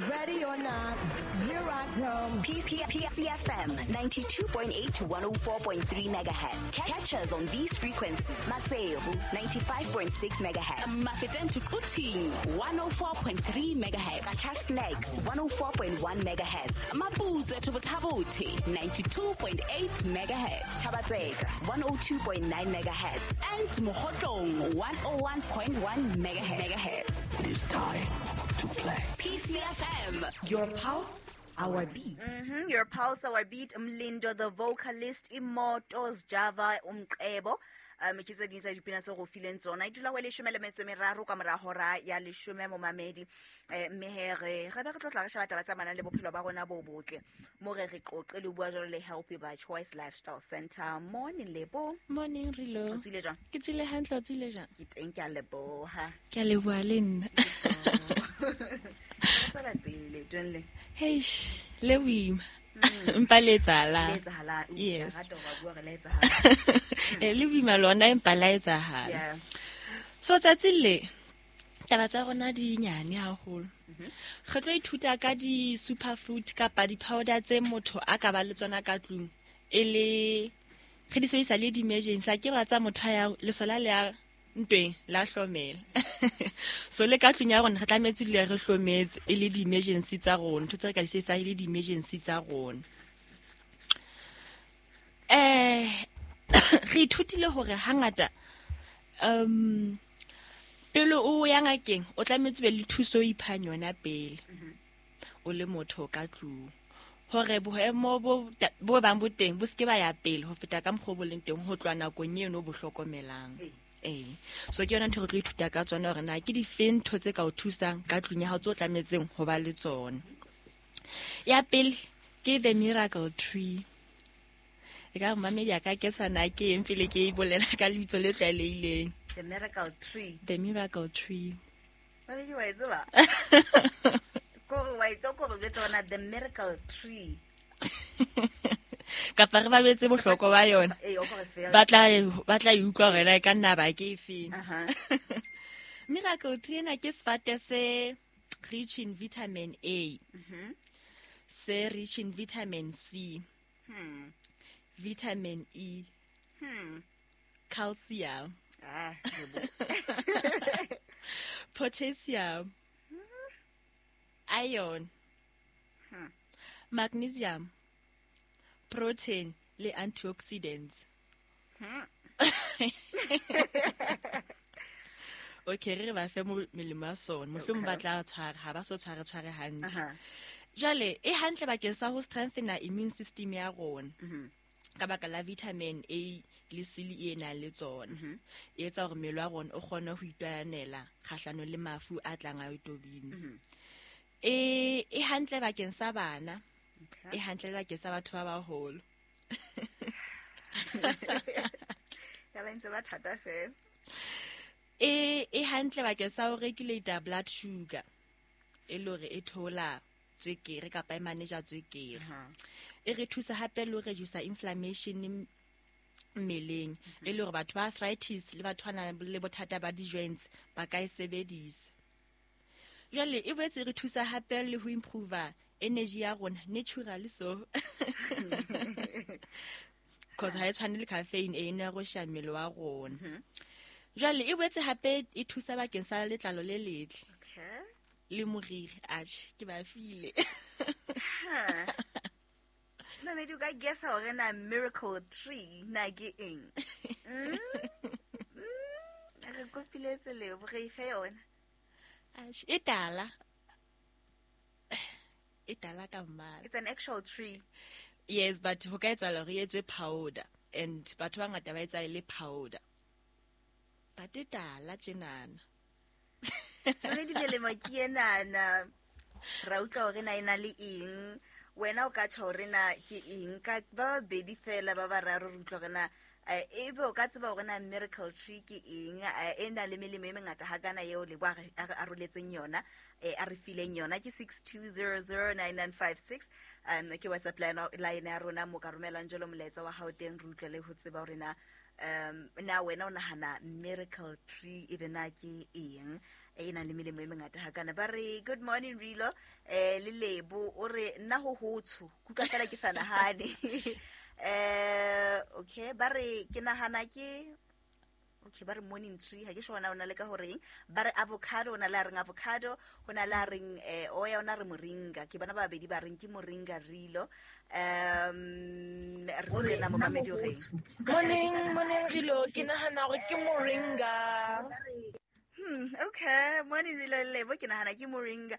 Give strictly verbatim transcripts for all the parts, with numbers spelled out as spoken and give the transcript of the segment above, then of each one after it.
Ready or not, here I come. P C F M ninety-two point eight to one oh four point three megahertz. Catch us on these frequencies. Maseru ninety-five point six megahertz. Mafeteng to Quthing one oh four point three megahertz. Qacha's Nek one oh four point one megahertz. Maputswe to Botha-Bothe ninety-two point eight megahertz. Thaba-Tseka one oh two point nine megahertz. And Mokhotlong one oh one point one megahertz. It is time to play. P C F M. Your pulse, our beat. Mm-hmm. Your pulse, our beat. Mlindo, the vocalist, Immortals, Java, Umqebo. Um, ke tse ding tsa dipina tse go fileng tsona. E dula ho leshome le metso e meraro ka mora hora ya leshome momamedi. Eh, mme he re re be re tlo tla re sheba taba tsa manang le bophelo ba rona bo botle. Mo re re qoqe le bua jwalo le Healthy by Choice Lifestyle Center. Morning, Lebo. Morning, Rilo. O tsile jwang? Ke tsile hantle, o tsile jwang? Ke teng, ke a leboha. Ke a leboha le nna. Tswela pele, leetong le. Heish, le boima. Empa le etsahala. Le etsahala. Yes. Rata hore ba bua hore le etsahala. Eh, le boima lona empa la etsahala. Yeah. So tsatsi le taba tsa rona di nyane haholo. Re tlo ithuta ka di superfood kapa di powder tse motho a ka ba le tsona ka tlung. E le re di sebedisa le di emergency, ke ba tsa motho ya lesola le ya ntweng la hlomela. So le ka tlung ya rona re tlametse dule re hlometse e le di emergency tsa rona, ntho tse re ka di sebedisa e le di emergency tsa rona. Eh re ithutile hore hangata um pele o ya ngakeng o tlametse be le thuso o iphang yona pele o le motho ka tlung, hore boemo bo bo bang bo teng bo seke ba ya pele ho feta ka mokgwa bo leng teng ho tloha nakong eno bo hlokomelang. Eh, so ke yona ntho re tlo ithuta ka tsona hore na ke difeng ntho tse ka o thusang ka tlung ya hao tse o tlametseng ho ba le tsona. Ya pele ke the miracle tree. E ka mamedi ya ka ke sana ke eng pele ke e bolela ka lebitso le tlwaelehileng. The miracle tree. The miracle tree. Mamedi wa e tseba? Ko wa e tsoko re jwetsa hore na the miracle tree. Kapa re ba betse bohlokwa ba yona. Eh, o ko re fela. Ba tla ba tla e utlwa hore na e ka nna ba ke efeng. Aha. Miracle tree ena ke sefate se rich in vitamin A. Mhm. Se rich in vitamin C. Hmm. Vitamin E. Hmm. Calcium. Ah, potassium. Iron. Hmm. Magnesium. Protein le antioxidants. Hmm. Okay, re ba fe melemo ya sona. Mohlomong ba tla tshwara, ha ba so tshware tshware hantle. Uh-huh. Jwale e hantle bakeng sa ho strengthena immune system ya rona. Mhm. Ka baka la vitamin A le C le E nang le tsona. E etsa hore mmele wa rona o kgone ho itwanela kgahlano le mafu a tlang a itobile. Mhm. E e hantle bakeng sa bana. Okay. E hantle bakeng sa batho ba baholo. Ya ba ntse ba thata fela. E e hantle bakeng sa ho regulate blood sugar. E le hore e thola tswekere kapa e manage tswekere. E re thusa hape le ho reduce inflammation mmeleng. E le hore batho ba arthritis le batho ba nang le bothata ba di-joints ba ka e sebedisa. Jwale e boetse e re thusa hape le ho improve energy ya rona naturally so. Cause ha e tshwane le caffeine e nerosha mmele wa rona. Jwale e boetse hape e thusa bakeng sa letlalo le letle. Okay. Le moriri, atjhe ke ba file. Mamedi o ka guess hore na miracle tree na ke eng? Mm? Mm? Re kopiletse Lebo, re ife yona. Atjhe, e tala. E tala ka mmala. It's an actual tree. Yes, but ho ka etsahala hore e etswe powder and batho ba bangata ba etsa e le powder. But e tala tjenana. Mamedi melemo ke enana. Ra utlwa hore na e na le eng. Wena o ka tjho hore na ke eng ka ba babedi fela ba bararo re utlwa hore na e be o ka tseba hore na miracle tree ke eng, e na le melemo e mengata hakana eo Lebo a re aroletseng yona, a re fileng yona. Ke six two zero zero nine nine five six um ke WhatsApp line line ya rona mo ka romelang jalo molaetsa wa hao teng re utlwe le ho tseba hore na um na wena o nahana miracle tree e be na ke eng. e nang le melemo e mengata hakana. Ba re good morning Rilo, eh le Lebo o re nna ho hotsho kuka fela ke sa nahane. Eh okay, ba re ke nahana ke okay, ba re morning tree ha ke shona ona le ka horeng. Ba re avocado, ona la reng avocado, hona la reng eh oya, ona re moringa. Ke bana ba babedi ba reng ke moringa Rilo. Um re na mo mamedi o reng. Morning, morning Rilo, ke nahana hore ke moringa. Hmm, okay, morning Rilo Lebo, ke nahana ke moringa.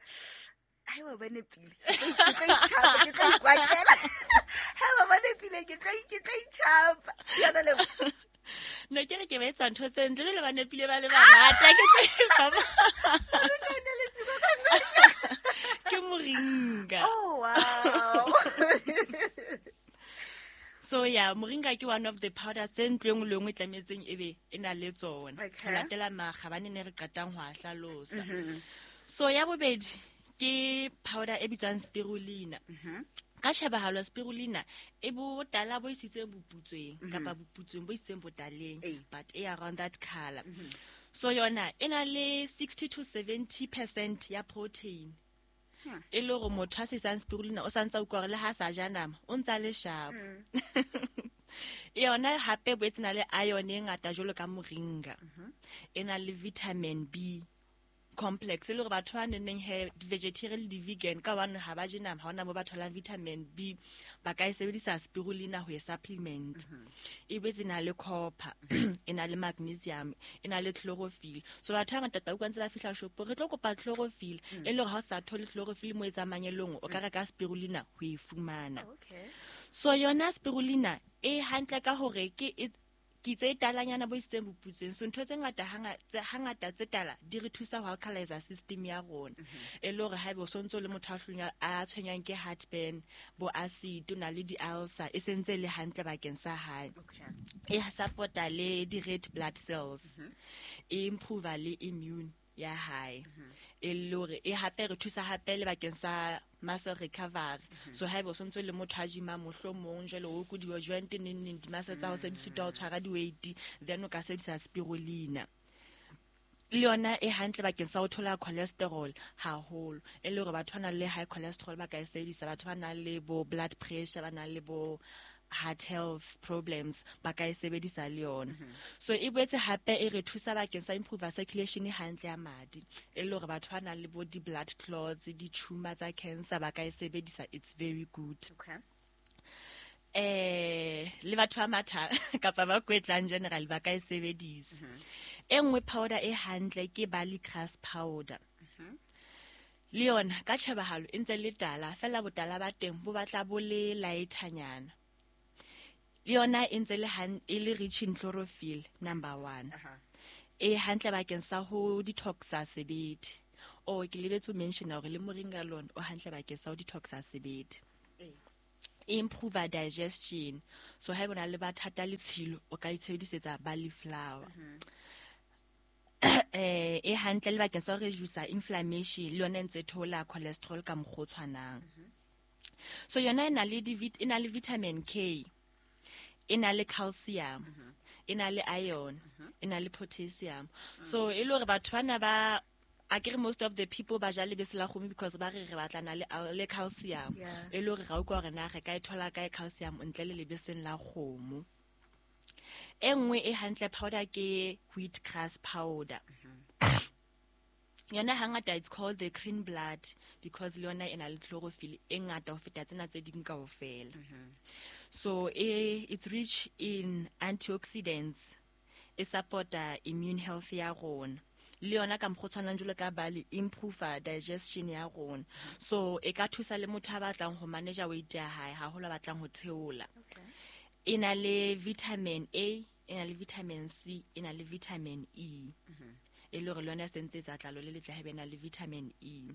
Ai wa bane pile. Ke tlo itjhapa, ke tlo ikwatela. Ha wa bane pile, ke tlo ke tlo itjhapa. Yana Lebo. No ke re ke ba etsa ntho tse ntle le ba nepile ba le bangata ke tlo e fa. Ke moringa. Oh wow. So yeah, moringa ke one of the powders tse ntlo engwe le engwe e tlametseng ebe e na le tsona. Okay. Ho latela makgabane ne re qetang ho a hlalosa. So ya bobedi ke powder e bitswang spirulina. Ka shebahalo spirulina e botala bo isitseng boputsweng kapa boputsweng bo isitseng botaleng, but e around that color. So yona e na le sixty to seventy percent ya protein. E le hore motho a sesang spirulina o santsa utlwa hore le ha sa ja nama o ntsa le sharp. Yona hape boetse na le iron e ngata jwalo ka moringa. E na le vitamin B complex e le hore batho ba neng he vegetarian le vegan ka hobane ha ba je nama ha hona mo ba tholang vitamin B, ba ka e sebedisa spirulina ho e supplement. E boetse na le copper, e na le magnesium, e na le chlorophyll. So batho ba ngata ta utlwa ntse ba fihla shopo re tlo kopa chlorophyll, e le hore ha o sa thole chlorophyll mo e tsamayelong o ka reka spirulina ho e fumana. Okay. So yona spirulina e hantle ka hore ke e ke tse talanyana bo isitseng boputsweng. So ntho tse ngata hangata tse tala di re thusa ho alkalize system ya rona. E le hore haebe o sontso le motho a hlunya a tshwenyang ke heartburn, bo acid, o na le di ulcer, e sentse le hantle bakeng sa hae. Okay. E supporta le di red blood cells. E improve le immune ya hae. E le hore e hape re thusa hape le bakeng sa muscle recovery. So haebe o sontso le motho a gym-a mohlomong jwale o kudiwa joint neng neng di muscle tsa hao se di sitwa ho tshwara di weight, then o ka sebedisa spirulina. Le yona e hantle bakeng sa ho thola cholesterol haholo. E le hore batho ba nang le high cholesterol ba ka e sebedisa, batho ba nang le bo blood pressure, ba nang le bo heart health problems ba ka e sebedisa le yona. So e boetse hape e re thusa bakeng sa improve circulation hantle ya madi. E le hore batho ba nang le bo di blood clots, di tumor tsa cancer ba ka e sebedisa, it's very good. Okay. Eh le batho ba matha kapa ba kwetlang general ba ka e sebedisa. E nngwe powder e hantle ke barley grass powder. Le yona ka tjhebahalo e ntse le tala, fela botala ba teng bo batla bo le lighternyana. Le yona e ntse le han e le rich in chlorophyll number one. E hantle bakeng sa ho detoxa sebete. Oh ke lebetse ho mention hore le moringa lona o hantle bakeng sa ho detoxa sebete. Improve digestion. So ha bona le bathata le tshilo o ka itshebedisetsa barley flour. Eh e hantle le bakeng sa ho reduce inflammation, le yona e ntse thola cholesterol ka mokgwa o tshwanang. So yona e na le di e na le vitamin K, e na le calcium, e na le iron, e na le potassium. So e le hore batho bana ba akere most of the people ba ja lebese la kgomo because ba re re batlana le le calcium. E le hore ra utlwa hore na re ka e thola kae calcium ntle le lebeseng la kgomo. E nngwe e hantle powder ke wheat grass powder. Yona hangata it's called the green blood because le yona e na le chlorophyll e ngata ho feta tsena tse ding kaofela. So e it's rich in antioxidants, e supporta immune health ya rona. Le yona ka mokgwa o tshwanang jwalo ka barley, improve digestion ya rona. So e ka thusa le motho a batlang ho manage weight ya hae, haholo a batlang ho theola. E na le vitamin A, e na le vitamin C, e na le vitamin E. E le hore le yona e sentse e tsa tlalo le letle haebe e na le vitamin E.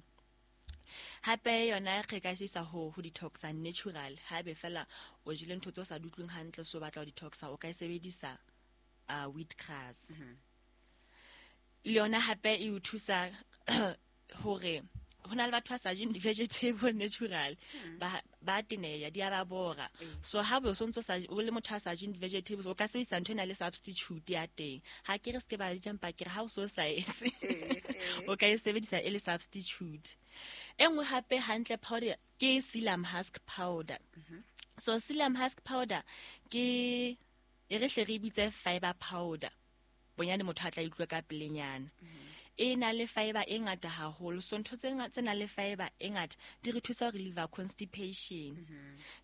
Hape yona re ka sisa ho ho detoxa natural. Haebe fela o jele ntho tse o sa di utlweng hantle so batla ho detoxa, o ka e sebedisa uh, wheat grass. Le yona hape e o thusa hore ho na le batho ba sa jeng di-vegetable natural ba ba teneya di a ba bora. So ha bo so ntso sa o le motho a sa jeng di-vegetables o ka sebedisa ntho e na le substitute ya teng. Ha ke re se ke ba di jang pa ke re ha o so sa etse o ka e sebedisa e le substitute. E nngwe hape hantle powder ke psyllium husk powder. So psyllium husk powder ke e re hle re bitse fiber powder. Bonyane motho a tla utlwa ka pelenyana. E na le fiber e ngata haholo. So ntho tse tse nang le fiber e ngata di re thusa ho relieve constipation.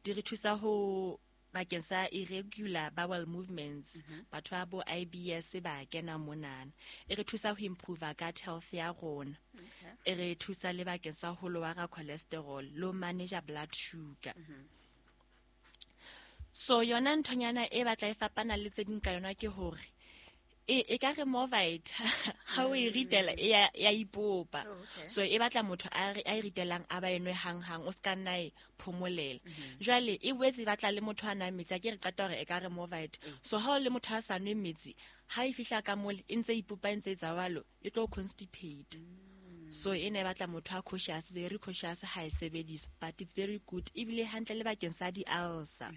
Di re thusa ho bakeng sa irregular bowel movements. Batho ba bo I B S ba kena monana. E re thusa ho improve gut health ya rona. E re thusa le bakeng sa ho lower cholesterol, lo manage blood sugar. So yona nthonyana e batla e fapana le tse ding ka yona ke hore e e ka re Movite ha o e ritela e ya ya ipopa. So e batla motho a a e ritelang a ba enwe hang hang o ska nna e phomolela. Jwale e boetse e batla le motho a nang metsi a ke re qeta hore e ka re Movite. So ha o le motho a sa nwe metsi ha e fihla ka mole e ntse ipopa e ntse e tsawalo e tlo constipate. So e ne batla motho a cautious, very cautious ha e sebedisa, but it's very good ebile hantle le bakeng sa di ulcer.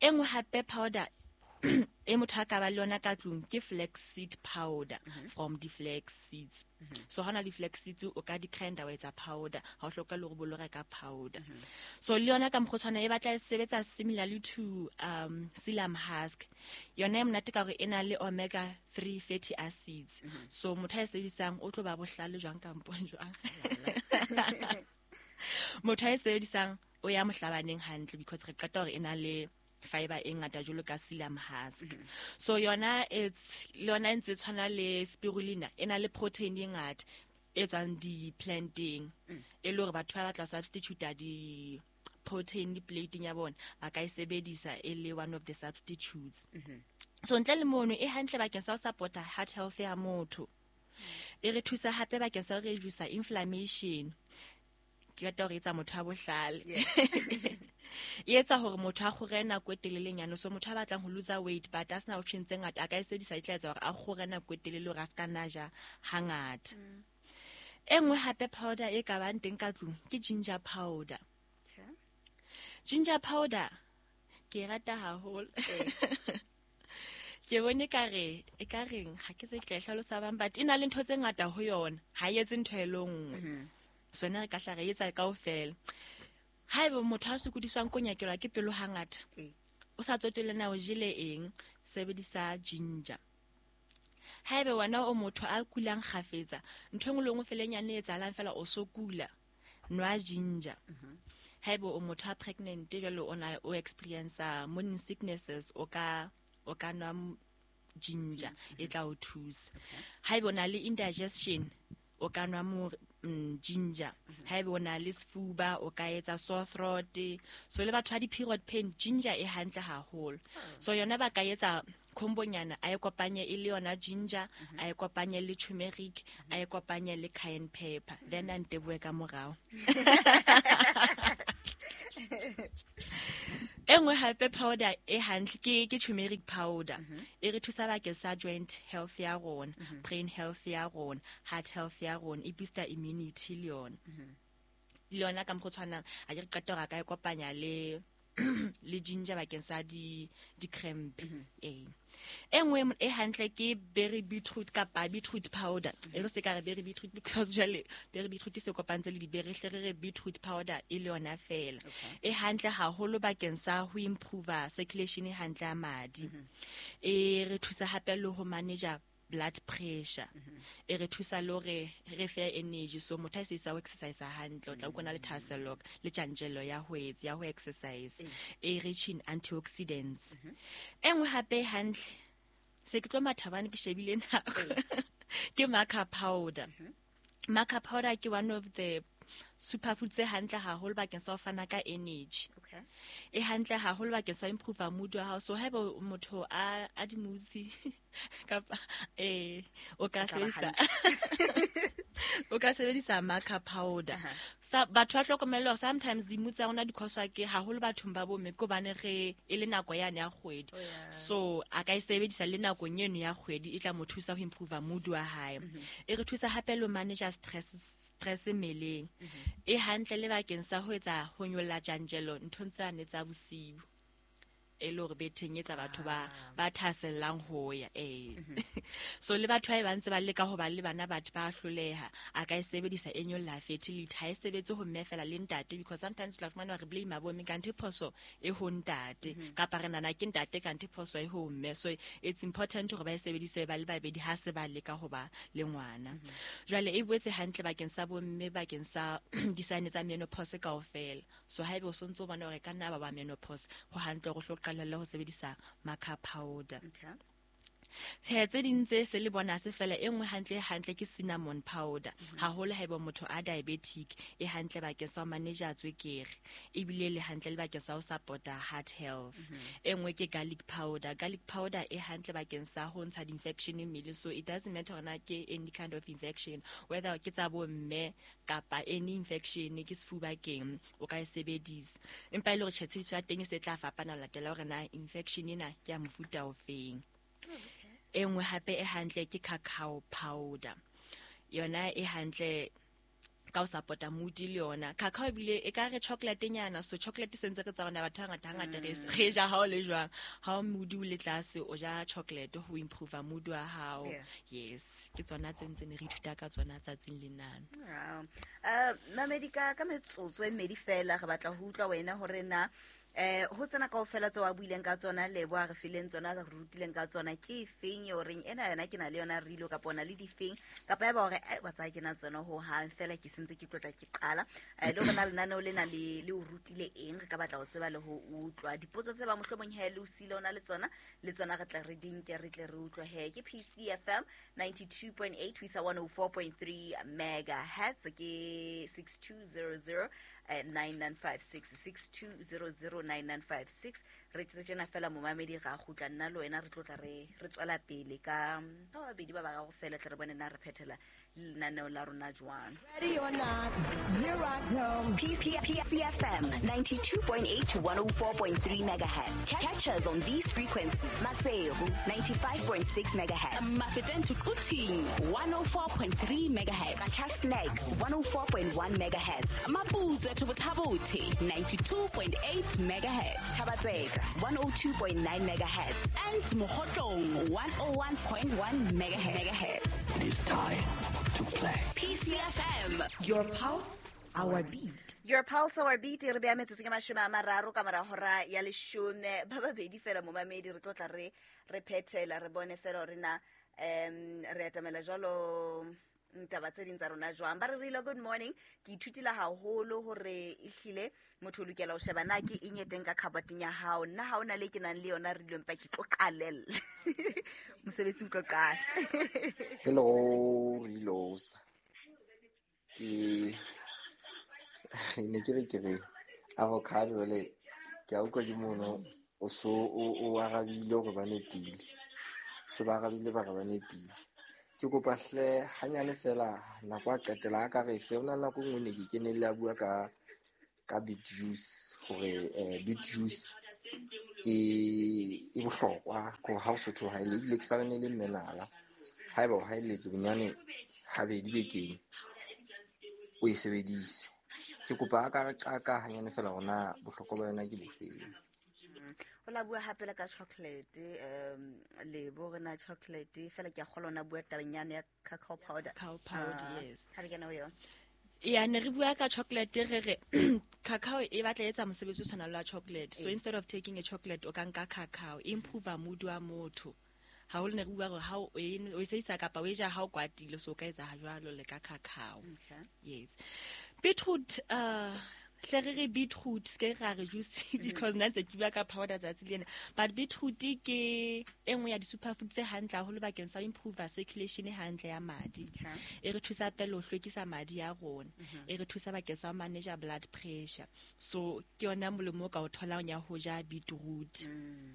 E nngwe hape powder e motho a ka ba le yona ka tlung ke flaxseed powder from the flax seeds. So hona le flax seeds o ka di grinder wa etsa powder, ha o hloka le hore bo lo reka powder. So le yona ka mokgotshwana e batla e sebetsa similarly to um psyllium husk. Yona e monate ka hore e na le omega three fatty acids. So motho a e sebedisang o tlo ba bohlale jwang kampong jwang. Motho a e sebedisang o ya mohlabaneng hantle because re qeta hore e na le fiber e ngata jwalo ka psyllium husk. So yona it's le yona e ntse tshwana le spirulina e na le protein e ngata e tswang di planting e le hore batho ba batla substitute di protein di plating ya bona ba ka e sebedisa e le one of the substitutes. So ntle le mono e hantle bakeng sa ho support heart health ya motho. E re thusa hape bakeng sa ho reduce inflammation. Ke rata hore e etsa motho a bohlale. E etsa hore motho a kgore nako e telelenyana. So motho a batlang ho lose weight but a sena option tse ngata a ka e sebedisa e tla etsa hore a kgore nako e telele hore a ska nna ja hangata. E nngwe hape powder e ka bang teng ka tlung ke ginger powder. Ginger powder ke e rata haholo. Ke bone ka re e ka reng ha ke se ke tla e hlalosa bang but e na le ntho tse ngata ho yona ha e etse ntho e le nngwe. So nna re ka hla re etsa kaofela. Haeba motho a sokodiswang ko nyakelwa ke pelo hangata o sa tsotelle na o jele eng sebedisa ginger. Haeba wena o motho a kulang kgafetsa ntho engwe le engwe felenyane e etsahalang fela o so kula nwa ginger. Haeba o motho a pregnant jwale o na o experience morning sicknesses o ka o ka nwa ginger e tla o thusa. Haeba o na le indigestion o ka nwa mo ginger. Haeba o na le sefuba o ka etsa sore throat. So le batho ba di-period pain ginger e hantle haholo. So yona ba ka etsa khombonyana a e kopanye e le yona ginger, a e kopanye le turmeric, a e kopanye le cayenne pepper, then a nteboe ka morao. E nngwe hape powder e hantle ke ke turmeric powder. E re thusa bakeng sa joint health ya rona, brain health ya rona, heart health ya rona, e booster immunity le yona. Le yona ka mokgwa o tshwanang a ke re qeta hore a ka e kopanya le le ginger bakeng sa di di cramp. Eh. E nngwe e hantle ke berry beetroot kapa beetroot powder. E re se ka re berry beetroot because jwale berry beetroot se kopantse le di-berry, hle re re beetroot powder e le yona fela. E hantle haholo bakeng sa ho improve circulation e hantle ya madi. E re thusa hape le ho manage blood pressure. E re thusa le hore re fe energy. So motho a se isa ho exercise hantle o tla utlwa le thahasello le tjantjello ya ho etsa ya ho exercise. E rich in antioxidants. E nngwe hape hantle se ke tlo mathabane ke shebile nako ke maca powder. Maca powder ke one of the superfood tse hantle haholo bakeng sa ho fana ka energy. Okay. E hantle haholo bakeng sa improve mood wa hao. So haeba motho a a di moods kapa eh o ka sebedisa O ka sebedisa maca powder. Sa batho ba hlokomele hore sometimes di-mood tsa rona di cause-wa ke haholo bathong ba bomme ke hobane re e le nako yane ya kgwedi. Oh, yeah. So a ka e sebedisa le nakong eno ya kgwedi e tla mo thusa ho improve mood wa hae. E re thusa hape le ho manage stress stress mmeleng. E hantle le bakeng sa ho etsa ho nyolla tjantjello nthong tsane tsa bosiu. E le hore betheng etsa batho ba ba thasellang ho ya eh. So le batho ba ba ntse ba leka ho ba le bana batho ba hloleha a ka e sebedisa e nyolla fertility ha e sebetse ho mme fela le ntate because sometimes tla fumana re blame bo mme kanthe phoso e ho ntate kapa re nana ke ntate kanthe phoso e ho mme. So it's important hore ba e sebedise ba le babedi ha se ba leka ho ba le ngwana. Jwale e boetse hantle bakeng sa bo mme bakeng sa di-sign tsa menopause kaofela. So haebe o sontso bona hore ka nna ba ba menopause ho hantle hore o qalelle ho sebedisa maca powder. Okay. Tse tse ding tse se le bona se fela e nngwe hantle hantle ke cinnamon powder. Haholo haeba motho a diabetic e hantle bakeng sa ho manage tswekere ebile le hantle le bakeng sa ho support heart health. E nngwe ke garlic powder. Garlic powder e hantle bakeng sa ho ntsha di-infection mmeleng. So it doesn't matter hore na ke any kind of infection whether ke tsa bo mme kapa any infection ke sefuba keng o ka e sebedisa. Empa e le hore tjhe tshebediso ya teng e se tla fapana ho latela hore na infection ena ke ya mofuta ofeng. E nngwe hape e hantle ke cacao powder. Yona e hantle ka ho support-a mood le yona. Cacao ebile e ka re chocolate nyana, so chocolate se ntse re tsa rona batho ba ngata hangata re re ja ha o le jwang. Ha o mood o le tlase o ja chocolate ho improve mood wa hao. Yeah. Yes, ke tsona tse ntse ne re ithuta ka tsona tsatsing lenana. Wow. Uh mamedi ka ka metsotso e mmedi fela re batla ho utlwa wena hore na eh ho tsena kaofela tseo a buileng ka tsona Lebo a re fileng tsona re rutileng ka tsona ke efeng eo reng ena yona ke na le yona rilo kapa ona le difeng kapa ya ba hore ai wa tsaya ke na tsona ho hang fela ke sentse ke tlotla ke qala eh le hore na lenaneo lena le le o rutile eng re ka batla ho tseba le ho utlwa dipotso tse ba mohlomong he le o sile ona le tsona le tsona re tla re di nke re tle re utlwe he ke P C F M ninety-two point eight ho isa one oh four point three megahertz ke six two zero zero nine nine five six six two zero zero nine nine five six re tsena fela momamedi ga gutla nna le wena re tlotla re re tswela pele ka ka babedi ba ba ga go fela tle re bone na re phethela lenaneo la rona jwang. Ready or not, here I come. P C F M ninety-two point eight to one oh four point three megahertz. Catch us on these frequencies. Maseru ninety-five point six megahertz. Mafeteng to Quthing one oh four point three megahertz. Qacha's Nek one oh four point one megahertz. Maputswe to Botha-Bothe ninety-two point eight megahertz. Thaba-Tseka one oh two point nine megahertz. And Mokhotlong one oh one point one megahertz. It is time to play. P C F M. Your pulse, our beat. Your pulse, our beat. Re beya metsotso ke mashome a mararo ka mora hora ya leshome. Ba babedi fela momamedi re tlotla re re phethela re bone fela hore na um re atamela jwalo ntaba tse ding tsa rona jwang. Ba re rile good morning. Ke ithutile haholo hore ehlile motho o lokela ho sheba na ke eng e teng ka khabateng ya hao. Nna ha ona le ke nang le yona re ile mpa ke tlo qalella. Mosebetsi o tlo qala. Hello, Rilos. Ke ne ke re ke re avocado le ke a utlwa ke mono o so o arabile hore ba nepile. Se ba arabile ba re ba nepile. Ke kopa hle hanyane fela nako a qetela a ka re fe ona nako nngwe ne ke kenelle a bua ka ka beet juice hore eh beet juice e e bohlokwa ko ha o sotho ha ile ebile ke sa rene le mmenala haeba o haeletse bonyane habedi bekeng o e sebedise. Ke kopa a ka re qaka hanyane fela hore bohlokwa ba yona ke bofeng. O la bua hape le ka chocolate um Lebo re na chocolate fela ke a kgolwa ona bua tabeng ya cacao powder. Cacao powder, yes. Ha re kena ho yona. Ya ne re bua ka chocolate re re cacao e batla etsa mosebetsi o tshwanang le wa chocolate. So instead of taking a chocolate o ka nka cacao improve mood wa motho. Haholo ne re bua hore ha o e sebedisa kapa o e ja ha o kwatile so o ka etsa jwalo le ka cacao. Okay. Yes. Beetroot uh Hle re re beetroot se ke ra re juice because nna ntse ke bua ka powder tsatsi lena. But beetroot ke e nngwe ya di-superfood tse hantle haholo bakeng sa ho improve circulation e hantle ya madi. E re thusa pele ho hlwekisa madi a rona. E re thusa bakeng sa ho manage blood pressure. So ke yona molemo o ka o tholang ya ho ja beetroot.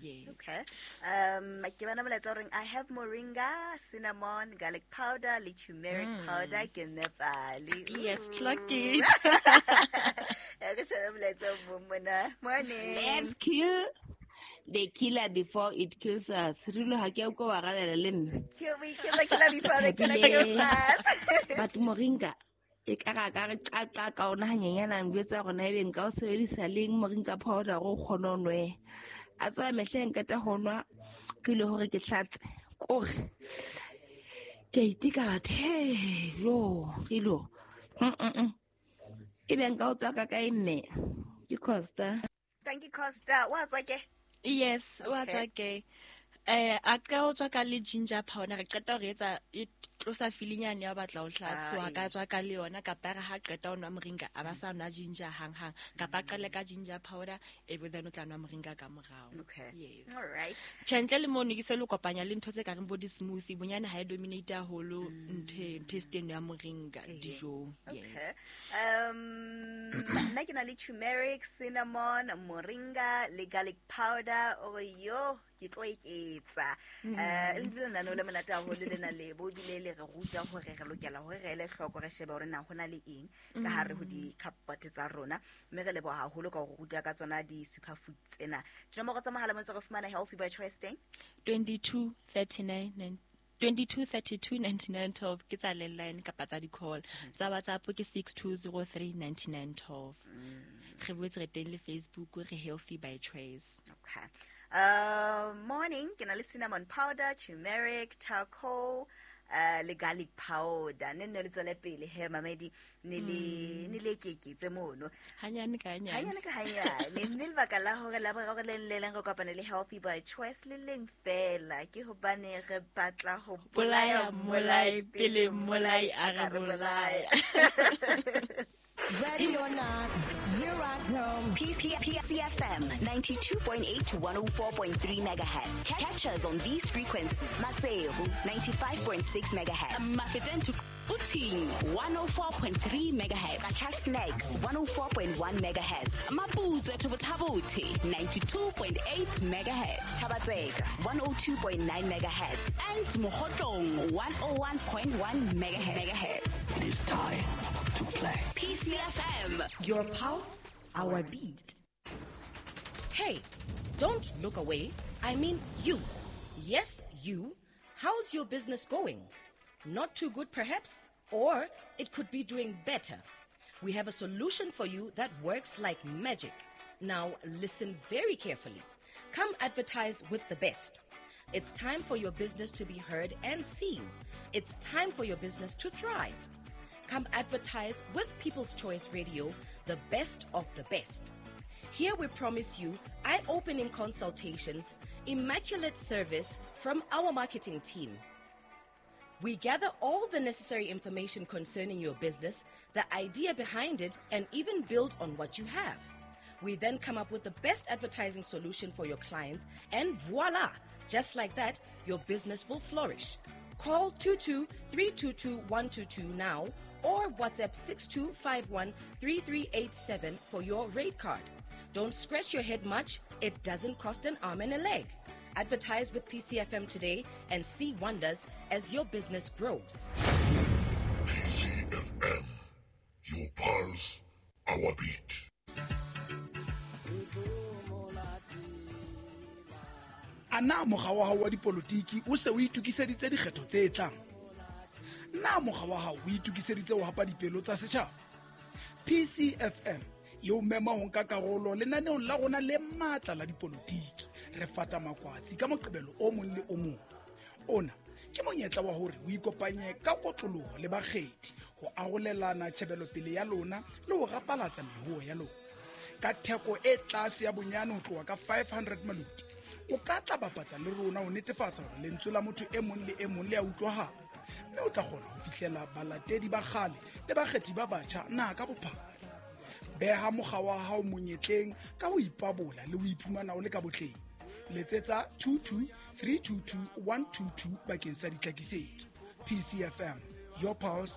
Yes. Okay. Um ke bana molaetsa o reng I have moringa, cinnamon, garlic powder le turmeric powder ke Nepali. Yes, clock it. Re shebe molaetsa o mong mona. Morning. Let's kill the killer before it kills us. Rilo ha ke a utlwa wa arabela le nna. Kill we kill the killer before the killer kills us. But moringa e ka ra ka re qaqa ka ona hanyenyana njwetsa hore na ebe nka o sebedisa leng moringa powder hore o kgone ho nwe. A tswa mehleng ka ta ho nwa ke ile hore ke hlatse kore ke a iteka batho he jo rilo. Mm mm mm. Ebe nka o tswa ka kae mme? Ke Costa. Thank you Costa. Wa tswa ke? Yes, wa Okay. tswa ke. Eh a ka o tswa ka le ginger powder re qeta ho re etsa e tlosa feeling-nyane ya ho batla ho hlatsa. So a ka tswa ka le yona kapa re ha qeta ho nwa moringa a ba sa nwa ginger hang hang kapa a qale ka ginger powder e be then o tla nwa moringa ka morao. Okay. Yes. All right. Tjhe, ntle le mono ke se le kopanya le ntho tse ka reng bo di-smoothie bonyane ha e dominate haholo ntho e taste eno ya moringa dijong. Okay. Yes. Um nna ke na le turmeric, cinnamon, moringa le garlic powder. O re yo ke tlo eketsa. Eh le bile lenaneo le monate haholo lena le bo ebile le re ruta hore re lokela hore re ele hloko re shebe hore na hona le eng ka hare ho di-cupboard tsa rona. Mme re leboha haholo ka ho ruta ka tsona di-superfood tsena. Dinomoro tsa mohala mo ntse re fumana Healthy by Choice teng? twenty-two thirty-nine nine twenty-two thirty-two ninety-nine twelve ke tsa landline kapa tsa di-call. Tsa WhatsApp ke six two zero three ninety-nine twelve. Re boetse re teng le Facebook re Healthy by Choice. Okay. Uh, morning, ke na le cinnamon powder, turmeric, charcoal, uh, le garlic powder. Ne nne le tswele pele he mamedi ne le ne le ekeketse mono. Hanyane ka hanyane. Hanyane ka hanyane. Mme lebaka la hore la boraro le le leng re kopane le Healthy by Choice le leng fela ke hobane re batla ho Bolaya bolaya mmolai mmolai pele pele mmolai mmolai a a re re bolaya. bolaya. Ready or not, here I come. P C F M ninety-two point eight to one oh four point three megahertz. Catch us on these frequencies. Maseru ninety-five point six megahertz. Mafeteng to Quthing one oh four point three megahertz. Qacha's one oh four point one megahertz. Maputswe to Botha-Bothe ninety-two point eight megahertz. Thaba-Tseka one oh two point nine megahertz. And Mokhotlong one oh one point one megahertz. It is time to play. P C F M. Your pulse, our beat. Hey, don't look away. I mean you. Yes, you. How's your business going? Not too good, perhaps? Or it could be doing better. We have a solution for you that works like magic. Now, listen very carefully. Come advertise with the best. It's time for your business to be heard and seen. It's time for your business to thrive. Come advertise with People's Choice Radio, the best of the best. Here we promise you eye-opening consultations, immaculate service from our marketing team. We gather all the necessary information concerning your business, the idea behind it, and even build on what you have. We then come up with the best advertising solution for your clients, and voila! Just like that, your business will flourish. Call two two three two two one two two now or WhatsApp six two five one three three eight seven for your rate card. Don't scratch your head much. It doesn't cost an arm and a leg. Advertise with P C F M today and see wonders as your business grows. P C F M, your pulse, our beat. A na mokga wa hao wa dipolotiki o se o itokiseditse dikgetho tse tlang? Na mokga wa hao o itokiseditse ho hapa dipelo tsa setjhaba? P C F M e o mema ho nka karolo lenaneong la rona le matla la dipolotiki. Re fata makwatsi ka Moqebelo o mong le o mong. Ona ke monyetla wa hore o ikopanye ka kotloloho le bakgethi ho arolelana tjhebelopele ya lona le ho rapalatsa mehoho ya lona. Ka theko e tlase ya bonyane ho tloha ka five hundred maloti, o ka tla bapatsa le rona ho netefatsa hore lentswe la motho e mong le e mong le a utlwahala, mme o tla kgona ho fihlela balatedi ba kgale le bakgethi ba batjha naha ka bophara. Beha mokga wa hao monyetleng ka ho ipabola le ho iphumana o le ka botleng. Letsetsa two two three two two one two two bakeng sa ditlhakisetso. P C F M, your pulse,